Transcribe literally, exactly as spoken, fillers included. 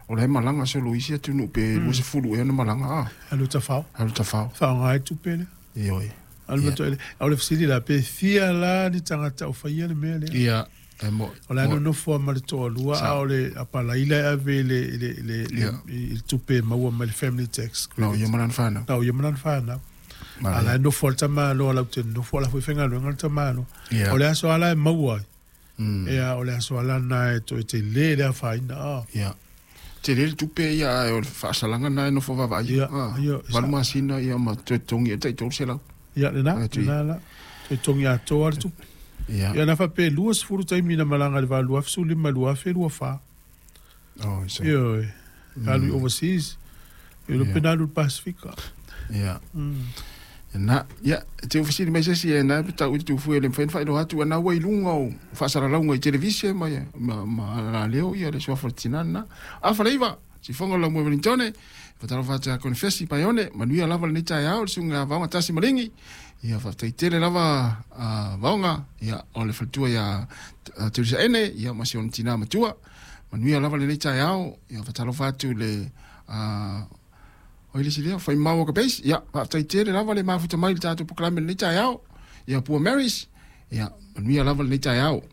O la e malaga solo isi atunuu pe luasefulu ea na malaga a. Alu tafao. Alu tafao. Faaaoga ai tupe lea. Ioe. Alu ma toele. A o le fesili la, pe fia la ni tagata o faia le mea lea? Ia, e mo'i. O la e nonofo lava ma le toalua, a o le apalaila e ave i le, i le, i le, i le tupe e maua mai le family tax credit. Na o ia ma lana fanau. Na o ia ma lana fanau. A la e nofo lava le tamaloa lautele nofo, a la foi e faigaluega le tamaloa. O le aso lava la e maua ai, ia o le aso lava lena e toe tele le afaina. A. Ia. Tele le tupe ia, ae o le faasalaga lena e nofo vaavaai. Ia, ia. Valu masina ia ma toe totogi ai tai tolu selau. Ia, lena, lena la. Toe totogi atoa le tupe. Ia. Ia na faapea e luasefulu taimi na malaga i le va lua afe sefulu lima lua afe lua fa. Oh, so. Ioe. Alu i overseas. Ia iloa pe na alu i le Pasefika. Ia. Na, ia, e te fesili mai se isi e na pe tau i le tufue e le mafai ona faailoa atu ana ua i luga o faasalalauga i televise ma ma ma alaleo ia le suafa o le tina lena. Afa le iva, sifoga o le laumua Wellingtone, e fatalofa atu ia Konifesi Paione, manuia lava lenei taeao le susuga ia Vaoga Tasi Maligi. Ia faafetai tele lava a Vaoga, ia o le faletua ia Teusaene, ia ma si ona tina matua. Manuia lava lenei taeao, ia fatalofa atu i le a O ai le isi lea? Faimau o ka base. Ia, faafetai tele lava le mafuta mai i le tatou polokalame i lenei taeao. Ia, Pua Marys, ia, manuia lava lenei taeao.